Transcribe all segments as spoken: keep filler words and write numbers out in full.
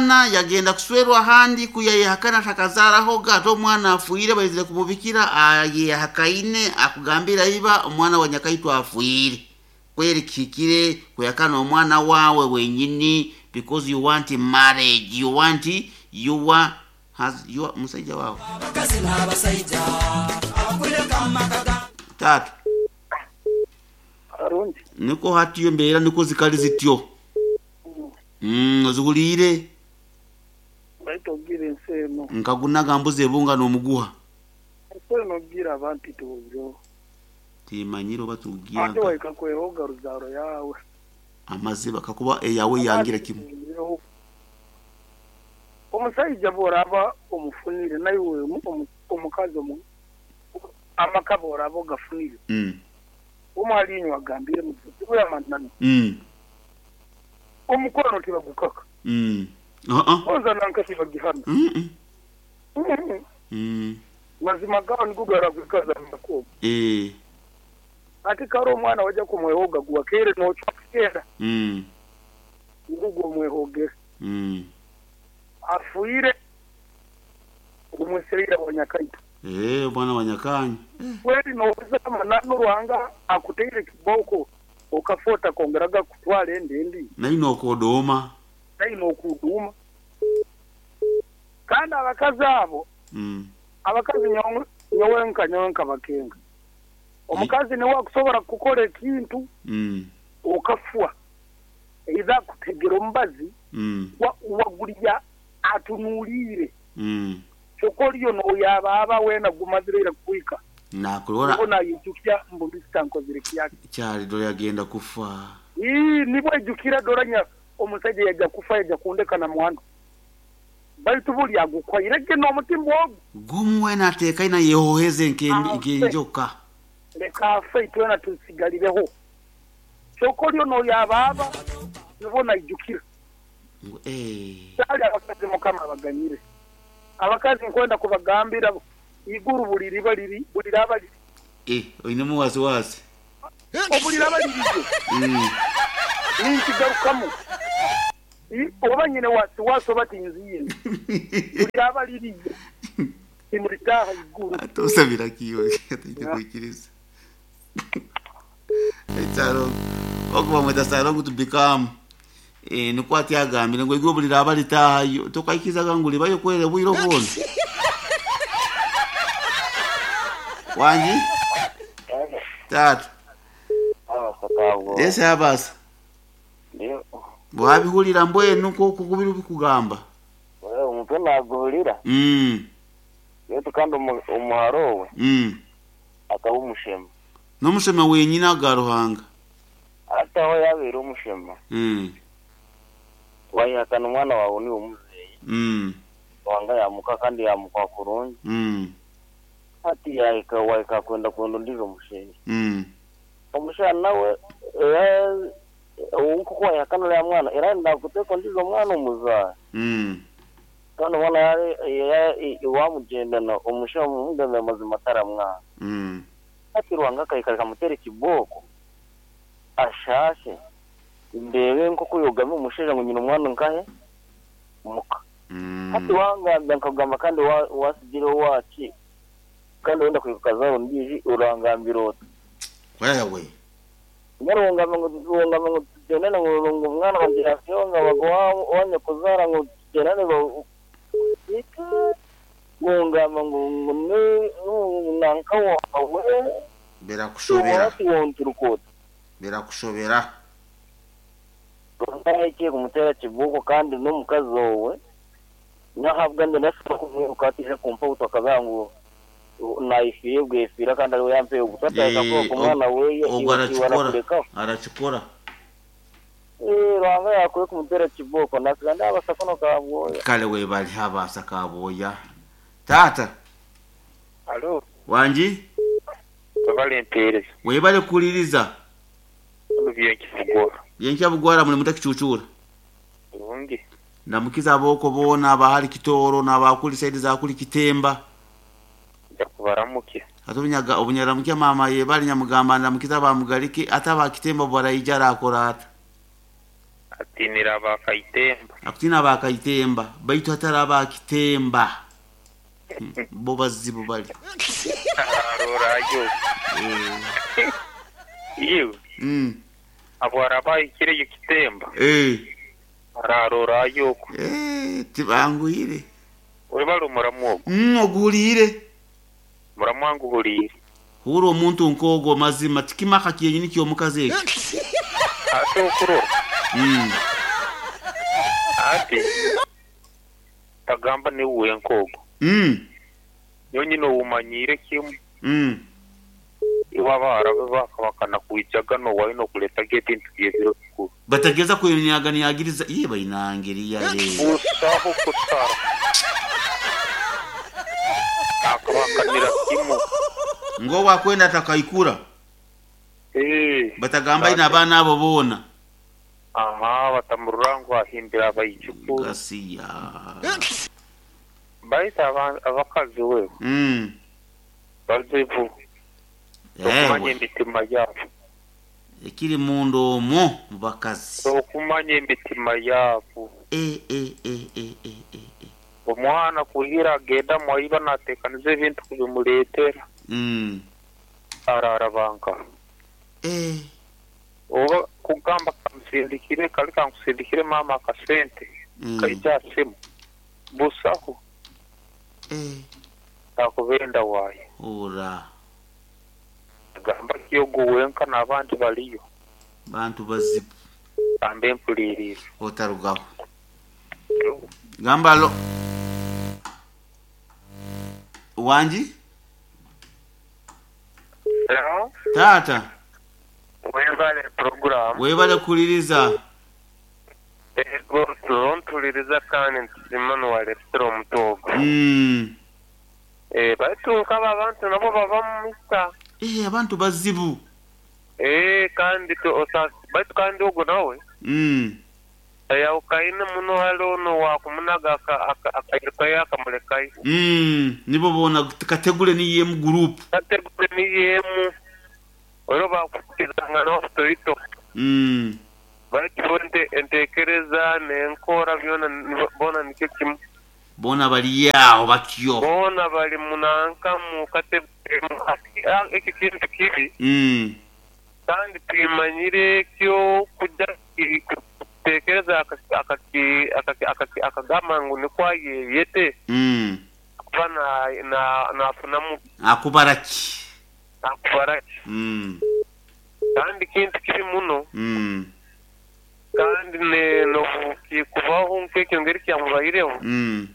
Omwana yagenda kuswerwa ahandi kuyayehakana takazarahoga, ate omwana afuire baizire kumubikira, ayehakaine akugambira iba omwana wa nyakaitu afuire. Kweri kihikire kuyakana omwana wawe wenyini because you want marriage, you want your has your musajja wawe. Abakazi n'abasaija abakuleka mu maka ga Tata, Arungi. niko hatiyo embeera niko zikali zityo. Mm, ozihuriire Baita ogira ensi eno. nkagunaga mbuzi ebunga n'omuguha. Ensi eno ogira abantu tubyo. Timanyire oba tugira Ate nka waika kwehoga ruzaro yawe. amaziba kakuba eyawe yangira kimwe. Omusajja bw'oraba omufunire naye omu- omukazi omu amaka bw'oraba ogafunire Mm. omwalinywa agambire muyamanano Mm. omukono tibagukaka Mm. Uh-uh. oza nanka tibagihana. Mm. -mm. Mm. Mm. Mazima gawo nigo garakwikaza makubo. Eh. Ate kari omwana wajja kumwehoga guwakeere n'ocwa kugenda Mm. ngugo omwehogere Mm. afuire omwesereira wa nyakaito. Eh, bwana wa Nyakanyi. Kweri noza manano Ruhanga akuteire kiboko okafota kongeraga kutwala endendi Naye nokodoma. naye nokuduma. Kandi abakazi abo Mm. abakazi nyowe nyowenka nyowenka bakenga omukazi niwe akusobora kukora ekintu Mm. okafwa eiza akutegera omubazi Mm. wa- wagulya atunuulire Mm. kyokka oliyo noyabaaba weena gumazireire kukwika Nakurora nayijukya mbu ndisitankozire kyake. kyali dora yagenda kufa. Ii, nibwo ejjukira doranya omusajja yajja kufa yajja kundeka na mwana baitu buli agukwairege n'omutima ogwo Gumwe nateekaina yehoheze nke Afe. nkenjoka. Leka afe itwena tusigalireho kyokka oliyo noyabaaba nibwo naijukira. Ngu eh. Kyali abakazi mukama abaganyire abakazi nkwenda kubagambira iguru buli riba liri buli raba liri Eh, oinemu wasiwasi. obuli raba lirije Mm. ninkigarukamu I- oba nyine wasiwasi oba tinziye buli raba liriye timuritaha iguru. Atosabira kiyo ataite kuikiriza. Etsaro okuba mweta salongo to become eh niko ati agambire ngo iguru buli raba litahayo tokaikizaga ngu libayo kwere bwiro bwona. Wanji? Tatu. Yesi abasa. Wabihurira mbwenu ko kukubira bikugamba. Omutwe naguhurira. Mm. Yetu kandi omu- omuharo we Mm. akaba omushema. N'omushema wenyine aga Ruhanga. Ate aho yabeire omushema Mm. wayihakana omwana wawe niwe omuzeeyi. Mm. Ruhanga yamuka kandi yamuka kurungi. Mm. Hati yahika wahika kwenda kwenda ondiijo omushaija. Mm. Omushaija nawe era nkoku wayihakana uriya mwana era arenda kuteeka ondiijo mwana omuzaara. Mm. Kandi omwana wamugyendana omushaija omugambira amazima taramwanga. Mm. Hati Ruhanga akahika akamuteera ekibooko ashashe ndeebe nkoku yogamba omushaija ngu nyine omwana nkahe muka. Mm. Hati wangambira nkagamba kandi wa- wasigireho waaki kandi wenda kwibuka zaaro ondiijo orangambira oti. Wewe. Nyari wongamba ngu wongamba ngu tugendane ngu ngu omwana wangye yafyonga baguha wanyakuzaara ngu tugendane ba- wongamba ngu ngu ni ngu nanka wawe Birakushobera. hati wonturuka oti. Birakushobera. Ruhanga kumutera kibuko kandi n'omukazi owe nahabwa ndi nashobora kumwiruka atije kumpa obutaka bwangu nayifiire bwefiira kandi ariwe yampeye obutaka Eh, ku mwana weye Ogwo iwe arachikora. arakurekaho. Arachikora. Eh, Ruhanga yakwiye kumutera kiboko nasiga ndabasakono kabwoya. Kale webali habasa kaboya. Tata, Alo, wanji? babalempereza. Webale kuliriza. Byenkibugora. Byenkya bugwara muli mutakichuchura. Bulungi. Ndamukiza aboko boona abahali Kitoro n'abakuli saidi za kuli Kitemba. Nja kubaramukya. Ate obunyaga obunyaramukia mama yebali nyamugamba ndamukiza bamugalike ate abakitemba bwaraija arakora ata. Atinira abakaitemba. Akutina abakaitemba baitu hatari abakitemba. Bo bazibu bali. Arorayo. Eh. Iwe. Mm. Abo arabahikire kitemba. Eh. Ararorayo. Eh, tibanguyire. Webale omuramu ogwo. Mm, oguhuriire. Muramu wange uhuriire. Hura omuntu nk'ogwo mazima tikimaka kyenyini ky'omukazi ekyo. Ate okurora. Mm. Ate tagamba niwe nk'ogwo. Mm. Nyonyi n'owumanyire kimu. Mm. Iwe abahara be bakabakana kwijaga nowayo nokuletaga ebintu byebiro bikuru. Batageza kwenyaganiagiriza iye bainangiriya le. Busaho kusara. Akabakanira kimu. Ngo wakwenda atakaikura. Eh. Batagamba ina abaana abo boona. Aha, batamurura ngu ahimbira abaijukuru. Gasiya. Baita abakazi wewe. Mm. Bazibu. Okumanya Ewe. emitima yabo. Ekiri munda omwo mu bakazi. Okumanya emitima yabo. E e e e e e e. Omwana kuhira agenda mwaiba natekaniza ebintu kubimuleetera. Mm. Arara banka. Eh. Oba kugamba kamusindikire kali kankusindikire mama akasente. Mm. Kaija simu. Busaho. Eh. Akubenda waayo. Ora. Gamba kiyogo wenka n'abandi baliyo. Bantu bazibu. Ambe mpuliriza. Otarugaho. Gamba lo. Wanji? Hello? Tata. Webale program. Webale kuliriza. Ego tulontuliriza kandi ntusima nuwaletera omutogo. Mm. Eh, baitu nkaba abantu nabo bava mu misa. Eh, abantu bazibu. Eh, kandi tu osa baitu kandi ogwo nawe. Mm. Ayawukaine muno hali ono wakumunaga akairukayo akamulekayo. Mm. Nibo bona kategule niye mu group. Kategule niyemu. Oro bakukizanga n'obutoito. Mm. Baitu ente entekereza n'enkora byona bona nikyo kimu. Bona bali yaho batyo. Bona bali munanka mu kategule eki kintu kibi. Mm. Kandi twimanyire kyo kujja kutekereza akaki akaki akagamba ngu nikwo ayeyete. Mm. Kuba na na nafunamu. Akubaraki. Akubaraki. Mm. Kandi kintu kibi muno. Mm. Kandi ne nobu kubaho nk'ekyo ngeri kyamubaireho. Mm.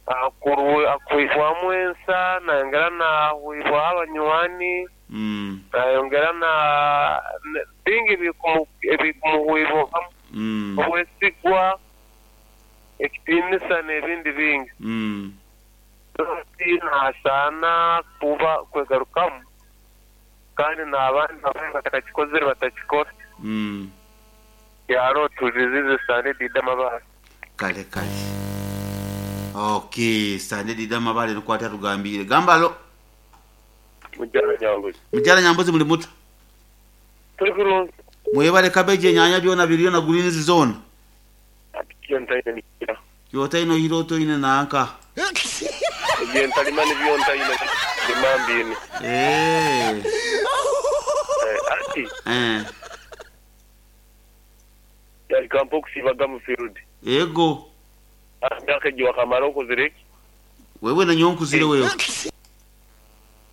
Akurwe akuihwamu ensa nayongera nahuibwaho abanywani. Mm. Nayongera na bingi ebikumuhuibwamu. Mm. Obwesigwa ekitiinisa n'ebindi bingi. Mm. Nasaana kuba kwegarukamu kandi n'abandi batakakikozere batakikora. Mm. Yaro tulizize sande dida mabale. Kale kale. Okay, sande dida mabale nukwata tugambire. Gamba lo. Mujala Nyambuzi. Mujala Nyambuzi muli muta. Tuli kulungi. Mwebale kabeje nyanya byona biriyo na greens zone. Ati nikira. Yotaino hiroto ine nanka. Ebyentalima nibyontayina limambini. Eh. Eh, ati. Eh. Yali kampo kusibaga mu field. Ego. Ndake wakamara okozireki. Wewe na nyonkuzire wewe.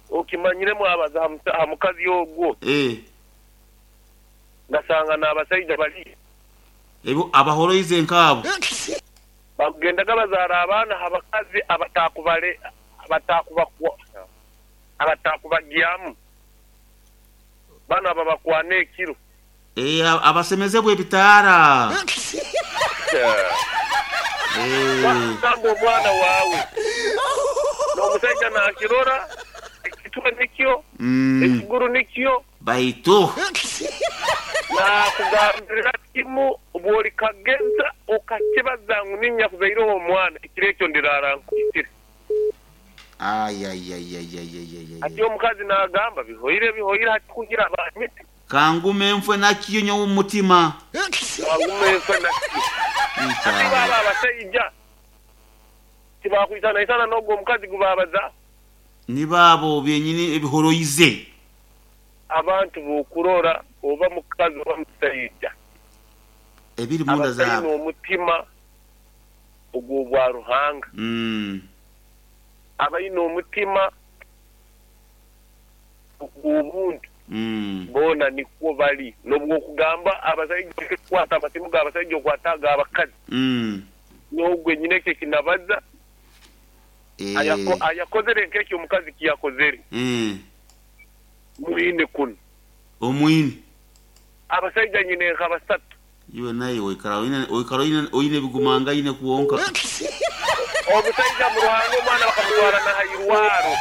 Okimanyire mu abaza hamukazi ogwo. Eh. Ngasanga n'abasajja bali. Ebo abahoroize nkabo. Bakugendaga bazaara abaana abakazi abatakubale abatakubakwa abatakubagyamu. Bana babakwana ekiro. Eh, abasemezebwe ebitaara. Eh. Samba omwana waawe. N'omusajja nakirora ekitwe nikyo, Mm. ekiguru nikyo. Baitu. Nakugambira kimu bw'oli kageza okakibaza ngu ninnya kuzaireho omwana ekiro ekyo ndirara nkukitire. Ay ay ay ay ay ay ay. Ati omukazi n'agamba bihoire bihoire hati kugira abanyite. Kangume nfwe nakiyo nyowe omu mutima. Kangume nfwe nakiyo. Ati baba abasaija tibakwisanaisana n'ogwo omukazi gubabaza. Nibaabo byenyini ebihoroize. Abantu bokurora oba mukazi oba musaija ebiri munda abatalina zaabo omutima ogw'obwa Ruhanga, Mm. abalina omutima ogw'obuntu, Mm. boona nikwo bali. N'obwokugamba abasaija kukwata amasimu g'abasaija okwata ag'abakazi, Mm. n'ogwe nyina ekyo kinabaza. Eh. Ayako- ayakozere nk'ekyo omukazi kiyakozere Eh. mwine kuno. Omwine. Abasaija nyine nka basatu. Iwe naye oikara oine oikara oine oine ebigumangaine kwonka. Omusaija mu Ruhanga omwana bakamutwara nahairwaro.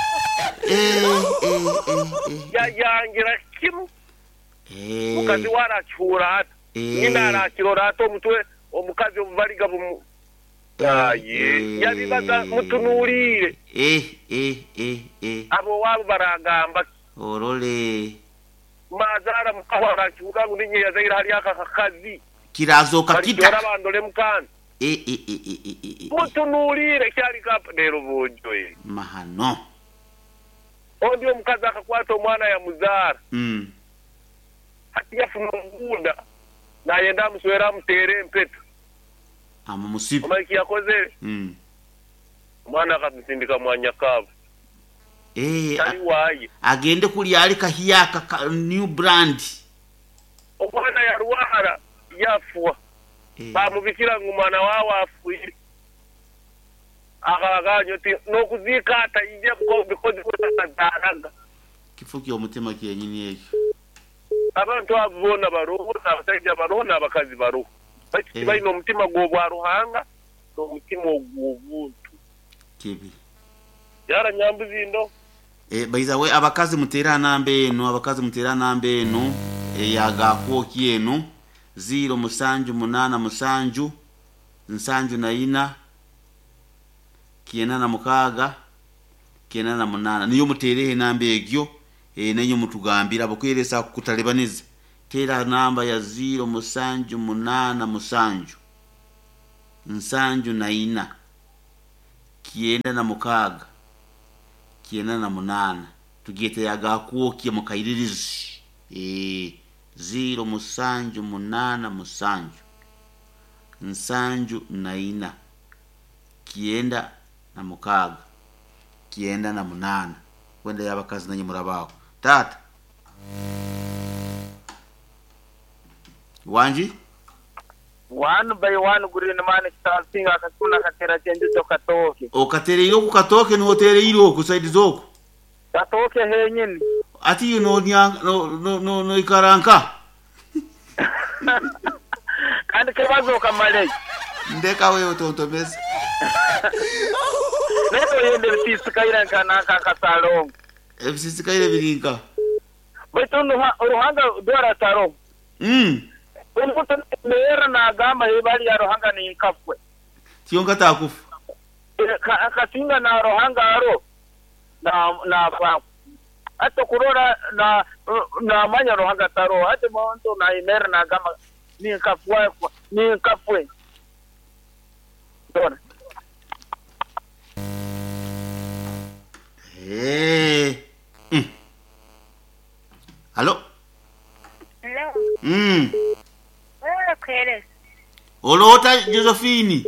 Eh, eh, eh, eh. Yayangira kimu. Eh. Mukazi we arakihura ata? Eh. Nyina arakirora ata omutwe omukazi obubaliga bumu aye Eh. yabibaza mutunuulire. Eh, eh, eh, eh. Abo waabo baragamba ki? Orole. Mazaara mukaho arakihura ngu ninye yazaire hali aka kakazi. Kirazoka balijora kita. bandole mukana. Eh, eh, eh, eh, eh, eh, eh. Mutunuulire kyali kapa leero bonjoye. Mahano. Ondi omukazi akakwata omwana yamuzaara. Mm. Hati yafuna omugunda nayenda amuswera amuteere empeta. Ama musibe. Omanyi kiyakozere? Mm. Omwana akamusindika mwanyakaabo. Eh, tali waaye. Agende kulya ali kahiyaka ka new brand. Omwana yarwara yafuwa. Eh. Bamubikira ngu mwana waawe afuire. Akagaanyo ti n'okuziika ataije because atazaaraga. Kifo ky'omutima kyenyini ekyo. Abantu abo boona baroho, n'abasaija baroho, n'abakazi baroho. Baitu Eh. tibalina omutima gw'obwa Ruhanga n'omutima ogw'obuntu. Kibi. Yara nyambuzi ndo. Eh, baiza we abakazi mutera namba eno, abakazi mutera namba eno eyagakwoki eno ziro musanju munana musanju nsanju na ina kiena na mukaaga kiena na munana niyo mutereho enamba egyo, eh, nenyo mutugambira abakweresa kutalebaniza. Tera namba ya ziro musanju munana musanju nsanju na ina kienda na mukaaga kienda na munana tugiyete yagakwokye mukairirizi. Eh, ziro musanju munana musanju nsanju na ina kienda na mukaaga kienda na munana. Wenda yabakazi nanyi murabaho tata wanji. One by one green man starting akasuna katera chenjuto katoke. Okatereire oku katoke nihotereire oku saidi zoku. Katoke henyini. Ati no no no no no ikaranka. Kandi kibazo kamale. Ndeka wewe otontomeza. Neto yende bisikaira kana kakasalongo. Ebisikaire birinka. Baitu Ruhanga dora taro. Mm. Omuntu mera nagamba ebali ya Ruhanga ni nkafwe. Tiyonka takufa. Akasinga na Ruhanga aro na na fa. Ato kurora na na manya Ruhanga taro ate muntu na imera nagamba ni nkafwe ni nkafwe. Dora. Eh. Mm. Halo. Hello. Mm. Wewe kwere. Olota Josephine.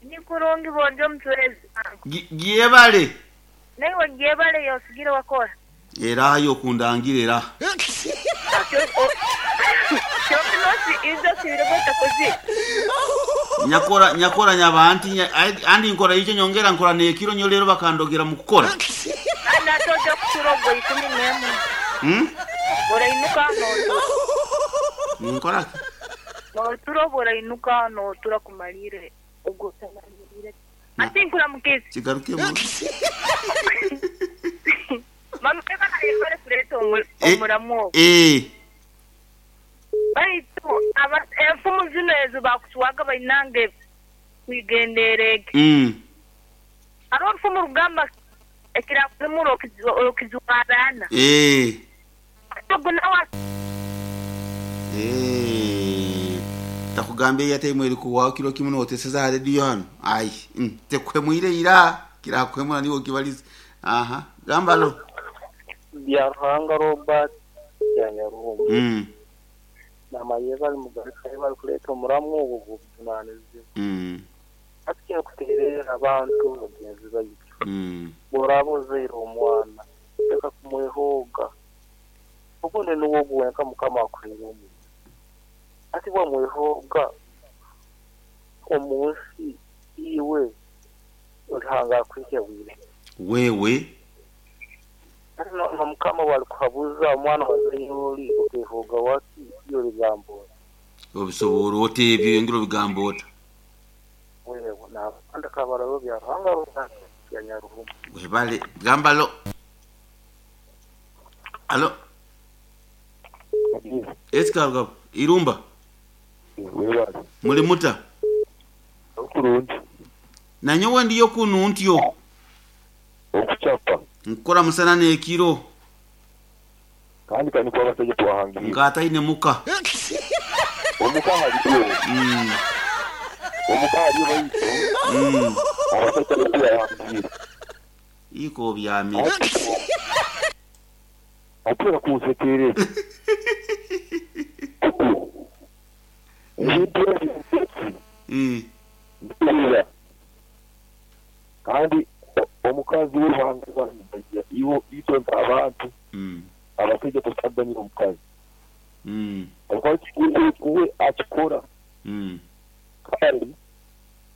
Ni kurungi bonjo mtwezi. Giebale. Nawe giebale yosigire wakora. Era yo kundangire era. Nyakora nyakora nyabanti andi nkora icyo nyongera nkora nekiro nyo lero bakandogera mu kukora. Ana toja kuturogo ikumi nemu. Hmm? Bora inuka no. Nkora. No turo bora inuka no tura kumalire ubwo tamalire. Ati nkura mukezi. Kigaruke mu. Mama eka kare kureto omuramo. Eh. Baitu aba enfumu zino ezo bakutuwaga bainange kwigenderege. Mm. Aro enfumu rugamba ekira kumuro okizwarana. Eh. Oguna wa Eh, takugambye yate mweri kuwaho kiro kimwe noteseza ha radio hano ai mm, tekuhemwire ira kirakuhemura niwo kibaliza aha gamba lo Bya Ruhanga Robert ya Nyaruhumba mm namayeba ali mugarika bari kuleeta omuramu ogwo gw'obuvunanizibwa mm ati kuteerera abantu bagenzi baitu mm bw'oraba ozaire omwana leka kumwehooga obundi niwo ogwenka mukama akuhaire omuntu ati bwamwehooga omu nsi iwe Ruhanga akwihya bwire wewe ati no no mukama bwalikuhabuza omwana wazaire oli okehooga waki iyo ligamba obisobora ota ebyo yongera obigamba ota wewe n'abandi kabarabo bya Ruhanga Robert ya Nyaruhumba webale gamba lo alo esikarugabo irumba webale muli muta okurungi nanyowe ndiyo kunu ntyo okucapa nkukora musana n'ekiro kandi kani kuba abasajja twahangire nkataine muka omuka haliyo mm, omuka haliyo baitu mm. abasajja betuyahangire iko byamire atera kunsekerera ebintu ebyo mm. mpulira kandi o- omukazi we Ruhanga iwo itwe nk'abantu Mm. abasajja tutaganyira omukazi Mm. omukazi we akikora Mm. kandi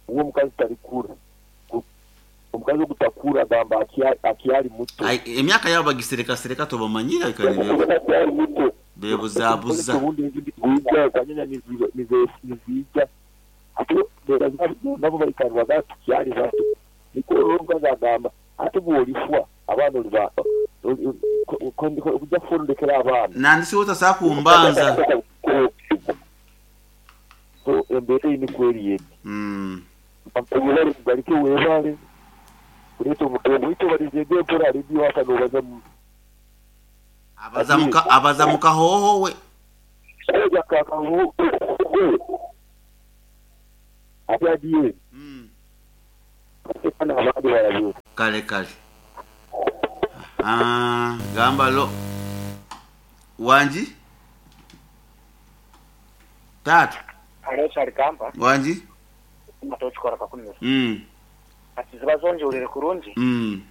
uwo omukazi talikura Ku- omukazi ogutakura agamba akya- akyali muto Ai, emyaka yabo bagiserekasereka tobamanyira ikanire akyali muto bebuzabuza ubundi nizija kanyanya nizija ate nabo baikarwa tukyali bato niko omukazi agamba ate bwolifwa abaana oliba kujja kufundikira abaana nandisi wotasa kumbanza so embeera eyi nikweri yeti mm. webale mugalike webale kuleeta omwito balizege empora rediyo haka nobaza mu abaza muka abaza mukahoho we oja kakahu ate adiye mm. ate kana abandi barabe kale kale ah, gamba lo wanji tata hariho kyarigamba wanji matokikora kakumira mm. ati ziba zonjurire kurungi mm.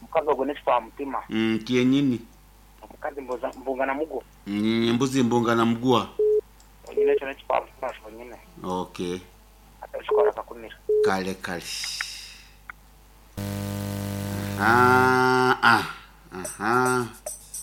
omukazi ogwo n'ekifa mutima mm. kyenyini omukazi mbuza- mbungana mugo Mm, mbuzi mbungana mugwa onyine ekyo n'ekifa mutima kyonyine okay atokikora kakumira kale kale aha ah, aha